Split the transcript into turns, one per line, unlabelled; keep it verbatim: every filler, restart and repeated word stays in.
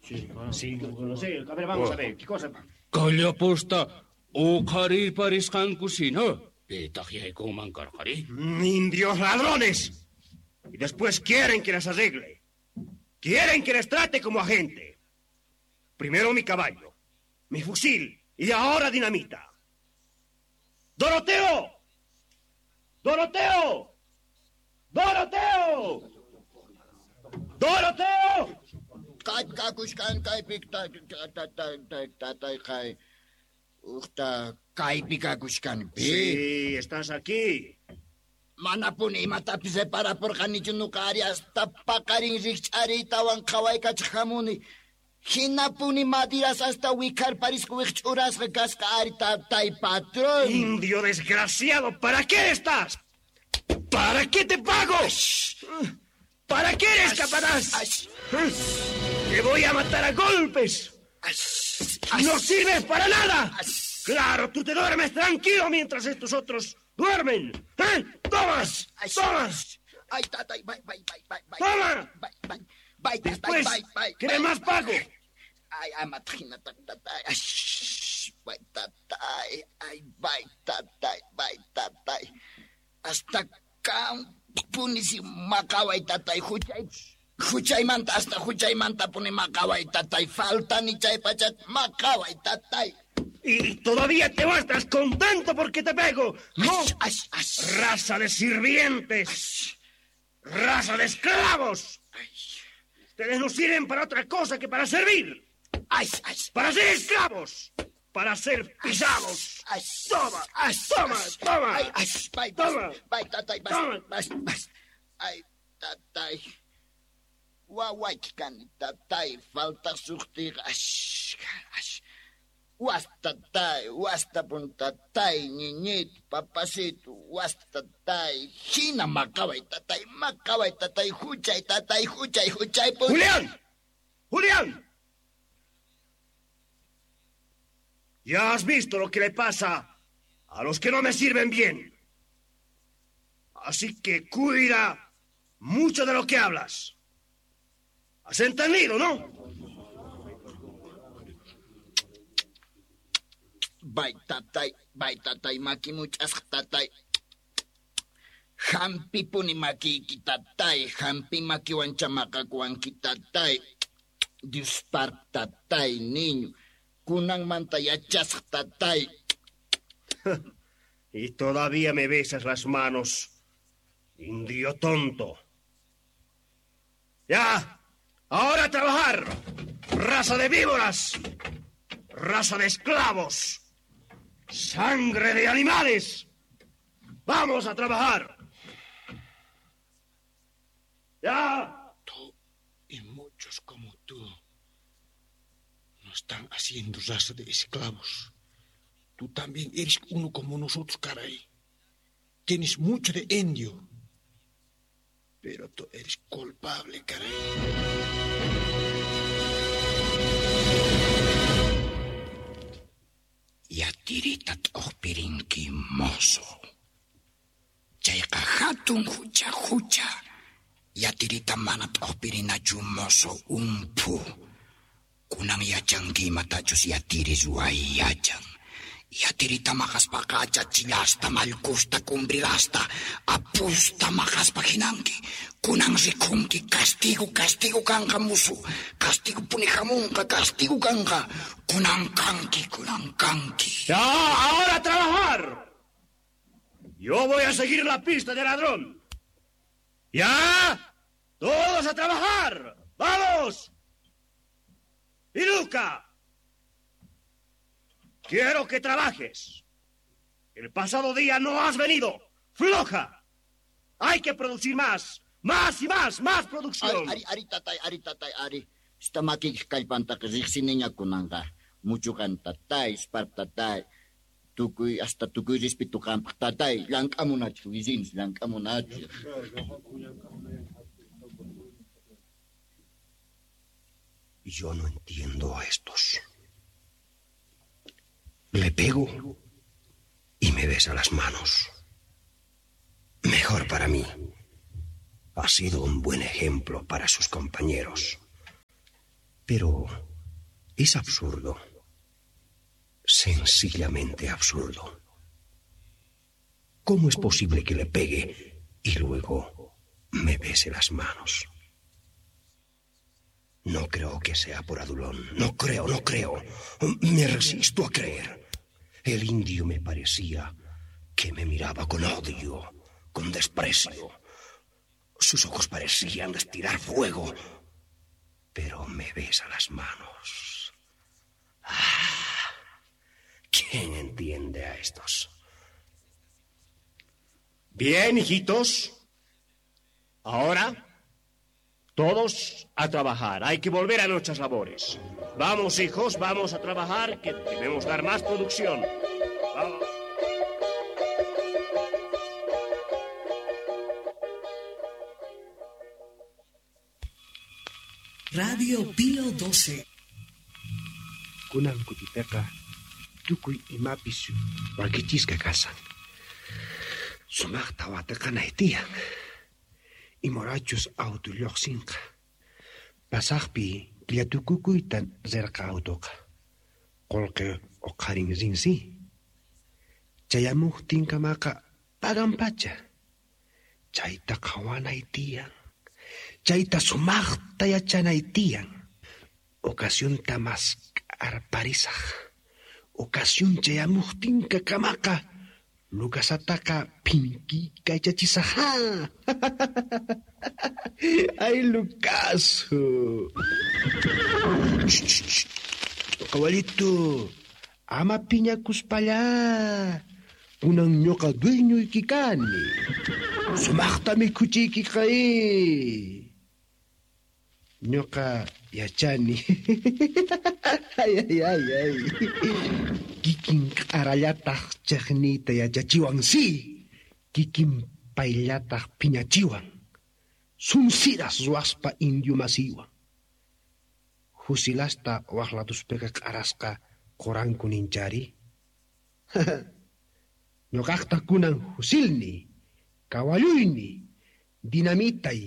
Sí, no sé. A ver, vamos a ver. ¿Qué cosa?
Kallaposta uqharirparisqankusina. Pitaq yaykunman karqari?
¡Indios ladrones! Y después quieren que les arregle. Quieren que les trate como a gente. Primero mi caballo, mi fusil y ahora dinamita. ¡Doroteo! ¡Doroteo! ¡Doroteo! ¡Doroteo! Sí, estás aquí.
Manapuni imatapis reparapurqanichu nuqa ari hasta paqarin rikch'ariytawan qhawaykachaq hamuni. Hinapuni madiras hasta wikharparisqa wiqch'urasqa kasqa ari tatay patrón.
Indio desgraciado, ¿para qué estás? ¿Para qué te pago? ¿Para qué eres capataz? ¡Te voy a matar a golpes! ¡No sirves para nada! ¡Claro, tú te duermes tranquilo mientras estos otros duermen! ¿Eh? ¡Tomas! ¡Tomas!
¡Ay, tatay! ¡Bye, bye, bye, bye!
¡Toma!
¡Bye, bye! ¡Bye,
Después,
bye, bye,
¿quieres más pago?
¡Ay, amatrina, tatay! ¡Bye, tatay! ¡Ay, bye, tatay! ¡Bye, tatay! Hasta kanpuni maqaway tatay huchay huchaymanta hasta huchaymanta puni maqaway tatay faltani chay pachat maqaway tatay.
Y todavía te muestras contento porque te pego. ¡No!
Ash, ash, ash.
¡Raza de sirvientes! ¡Raza de esclavos! Ustedes no sirven para otra cosa que para servir.
Ay, ay,
¡Para ser esclavos! ¡Para ser pisados!
ay,
¡Toma!
ay,
¡Toma!
ay,
¡Toma!
Ay, ay, bye,
¡Toma!
bye, tatay, bye,
¡Toma!
bye, bye. Ay, tatay. Wawayki kani, tatay, falta suqtiqa. Ash, ash. Was tatay, was tapun tatay, ñiñito, papacito, was tatay. Hina maqaway tatay, maqaway tatay, huchay tatay, huchay, huchay. pun-
¡Julián! ¡Julián! Ya has visto lo que le pasa a los que no me sirven bien. Así que cuida mucho de lo que hablas. ¿Has entendido, no?
Bay tatay, bay tatay, makimuch'asqa tatay. Hampipuni makiyki tatay, hampi makiwancha maqakuwanki tatay. Dios par tatay, niño. Kunanmanta yachasqa tatay.
Y todavía me besas las manos, indio tonto. ¡Ya! ¡Ahora a trabajar! ¡Raza de víboras! ¡Raza de esclavos! ¡Sangre de animales! ¡Vamos a trabajar! ¡Ya!
Tú y muchos como tú nos están haciendo raza de esclavos. Tú también eres uno como nosotros, caray. Tienes mucho de indio. Pero tú eres culpable, caray.
Yatirita t'uqpirinki mozo. Chayqa hatun hucha hucha. Yatirita mana t'uqpirinachu mozo umphu. Kunan yachanki imatachus yatiri ruway yachan. Yatirita maqaspaqa achachillasta, mallkusta, cumbrirasta, apusta maqaspa hinanki. Kunan rikunki, castigo, castigo kanqa musu. Castigo puni hamunqa, castigo kanqa. Kunan kanki, kunan kanki.
¡Ya! ¡Ahora a trabajar! Yo voy a seguir la pista del ladrón. ¡Ya! ¡Todos a trabajar! ¡Vamos! ¡Y Luca! Quiero que trabajes. El pasado día no has venido. ¡Floja! Hay que producir más. Más y más, más producción.
Ari, ari, tatay, ari, tatay, ari. Esta makiykiq kallpantaqa riqsiniña kunanqa. Muchuqan tatay, spar tatay. Tukuy, hasta tukuy respeto qampaq tatay. Llank'amunachu, wizinis, llank'amunachu.
Yo no entiendo a estos. Le pego y me besa las manos. Mejor para mí. Ha sido un buen ejemplo para sus compañeros. Pero es absurdo. Sencillamente absurdo. ¿Cómo es posible que le pegue y luego me bese las manos? No creo que sea por adulón. No creo, no creo. Me resisto a creer. El indio me parecía que me miraba con odio, con desprecio. Sus ojos parecían destilar fuego. Pero me besa las manos. Ah, ¿quién entiende a estos? Bien, hijitos. Ahora, todos a trabajar. Hay que volver a nuestras labores. Vamos, hijos, vamos a trabajar, que debemos dar más producción. Vamos.
Radio Pío doce.
Kunan kutipeqa tukuy imapis wakichisqa kasan. Sumaqta watiqanay tiyan. Imorachus auto lluqsinqa. Pasaqpi killatukukuyta rirqa autoqa. Qullqi uqharin rinsi. Chayamuqtinkamaqa paganpacha. Chayta qhawanay tiyan. Chayta sumaqta yachanay tiyan. Ocasionta maskarparisaq. Ocasión chayamuqtinka kamaqa Lucasataqa phinkikaychachisaq. Ay, Lucaso. Kawallito, ama piñakuspalla. Kunan ñuqa dueñoyki kani. Sumaqta mikhuchiykiqa. Ñuqa yachani. Ay, ay, ay, ay. Kikin q'arallataq chaqniyta yachachiwan, sí. Kikin payllataq phiñachiwan. Sunsiras ruwaspa indio masiwan. Husilasta waqlatuspiqa q'arasqa quranku ninchari. Ñuqaqta kunan husilni, kawalluyni, dinamitay.